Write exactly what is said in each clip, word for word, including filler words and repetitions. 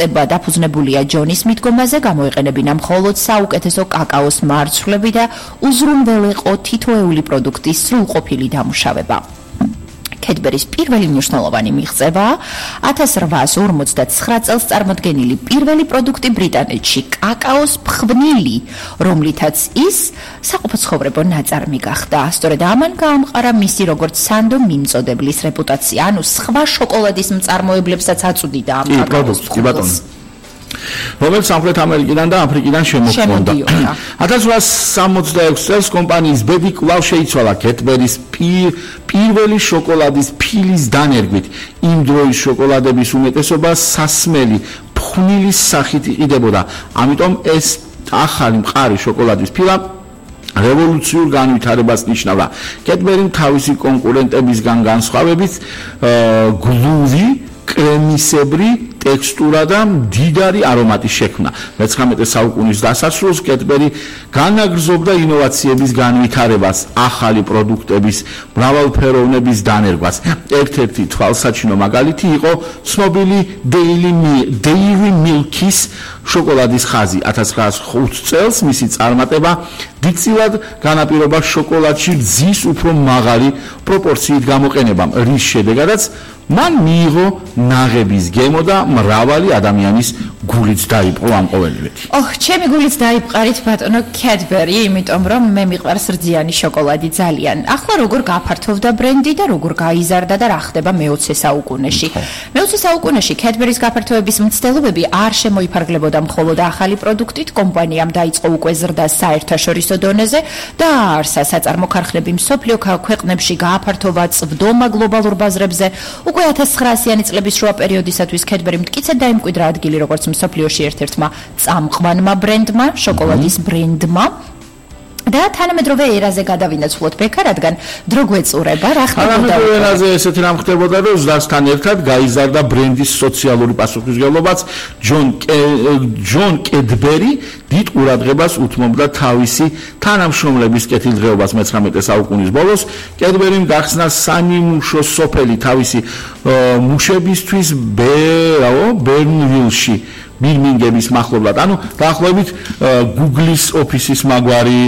სტატისტება დაფუძნებულია ჯონის მიდგომაზე, გამოიყენებინა მხოლოდ საუკეთესო კაკაოს მარცვლები და უზრუნველეყო თითოეული პროდუქტის სრულყოფილი დამუშავება. Cadbury-ს პირველი მნიშვნელოვანი მიღწევა ათას რვაასი ორმოცდათცხრა წელს წარმოდგენილი პირველი პროდუქტი ბრიტანეთში კაკაოს ფხვნილი, რომლითაც ის საყოფაცხოვრებო ნაწარმი გახდა. სწორედ ამან გაამყარა მისი როგორც სანდო მიმწოდებლის რეპუტაცია, ანუ სხვა შოკოლადის მწარმოებლებსაც აწვდიდა ამ კაკაოს ფხვნილს. რომელიც სამხრეთ ამერიკიდან და აფრიკიდან შემოჰქონდა. ათას რვაასი სამოცდაექვსი წელს კომპანიის ბედი კვლავ შეიცვალა Cadbury-ს პირველი შოკოლადის ფილის დანერგვით. იმ დროის შოკოლადების უმეტესობა სასმელი ფხვნილის სახით იყიდებოდა. ამიტომ ეს ახალი მყარი შოკოლადის ფილა რევოლუციურ განვითარებას ნიშნავდა. Cadbury-მ თავისი კონკურენტებისგან განსხვავებით გლუვი კრემისებრი ტექსტურა და მდიდარი არომატი შექმნა. მეცხრამეტე საუკუნის დასასრულს Cadbury განაგრძობდა ინოვაციების განვითარებას, ახალი პროდუქტების მრავალფეროვნების დანერგვას. ერთ-ერთი თვალსაჩინო მაგალითი იყო ცნობილი Dairy Milk-ის შოკოლადის ხაზი. ათას რვაასი ხუთი წელს მისი წარმატება დიდწილად განაპირობა შოკოლადში რძის უფრო მაღალი პროპორციით გამოყენებამ, რის შედეგადაც მან მიიღო ნაღების გემო და მრავალი ადამიანის გულიც დაიპყრო ამ ყოველივეთი. ოჰ, ჩემი გულიც დაიპყარით ბატონო Cadbury, იმიტომ რომ მე მიყვარს რძიანი შოკოლადი ძალიან. ახლა როგორ გაფართოვდა ბრენდი და როგორ გაიზარდა და რა ხდება მეოცე საუკუნეში. მეოცე საუკუნეში Cadbury-ს გაფართოების მცდელობები არ შემოიფარგლებოდა მხოლოდ ახალი პროდუქტით, კომპანიამ დაიწყო უკვე ზრდა საერთაშორისო დონეზე და აარსა საწარმო ქარხნები მსოფლიო ქვეყნებში, გააფართოვა წვდომა გლობალურ ბაზრებზე. უკვე ათას ცხრაასიანი წლების შუა პერიოდისათვის Cadbury მტკიცედ დაიმკვიდრა ადგილი როგორც მსოფლიოში ერთ-ერთმა წამყვანმა ბრენდმა, შოკოლადის ბრენდმა. და თანამედროვე ერაზე გადავინაცვლოთ ბექა, რადგან დრო გვეწურება, რა ხდება? თანამედროვე ერაზე ესეთი რამ ხდებოდა, რომ ზრდასთან ერთად გაიზარდა ბრენდის სოციალური პასუხისმგებლობაც. ჯონ ჯონ Cadbury დიდ ყურადღებას უთმობდა თავისი თანამშრომლების კეთილდღეობას მეცხრამეტე საუკუნის ბოლოს. Cadbury-მ გახსნა სამიმუშო სოფელი თავისი მუშებისთვის ბერნვილში. ბირმინგემის მახლობლად. ანუ დაახლოებით Google-ის ოფისის მაგვარი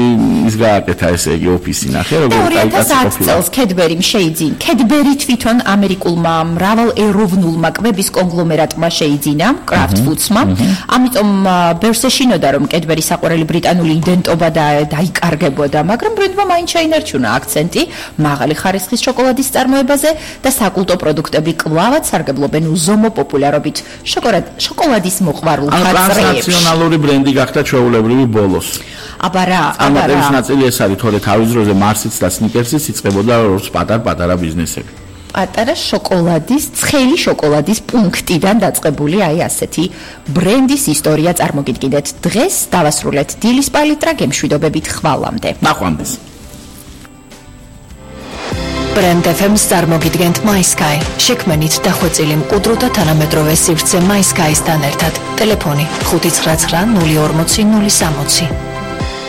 ის გააკეთა, ესე იგი ოფისი ნახე, როგორ დაიწყო წელს Cadbury-მ შეიძინა. Cadbury თვითონ ამერიკულმა მრავალეროვნულმა კვების კონგლომერატმა შეიძინა, Kraft Foods-მა. ამიტომ ბევრს ეშინოდა, რომ Cadbury-ის საყვარელი ბრიტანული იდენტობა დაიკარგებოდა, მაგრამ ბრენდმა მაინც შეინარჩუნა აქცენტი მაღალი ხარისხის შოკოლადის წარმოებაზე და საკულტო პროდუქტები კვლავაც სარგებლობენ უზომო პოპულარობით შოკოლადის ტრანსნაციონალური ბრენდი გახდა ჩვეულებრივი ბოლოს. აბა რა, აბა რა. ამ ნაწილი ეს არის, თორე თავის დროზე Mars-იც და Snickers-იც იწყებოდა როგორც პატარ-პატარა ბიზნესები. პატარა შოკოლადის, ცხელი შოკოლადის პუნქტიდან დაწყებული აი ასეთი ბრენდის ისტორია წარმოგიდგინეთ. დღეს დავასრულეთ დილის პალიტრა გემშვიდობებით ხვალამდე. ნახვამდის. Brand ეფ ემს წარმოგიდგენთ MySky. შექმენით დახვეწილი მყუდრო და თანამედროვე სივრცე MySky-სთან ერთად. ტელეფონი ხუთი ცხრა ცხრა ნული ორმოცი ნული სამოცი.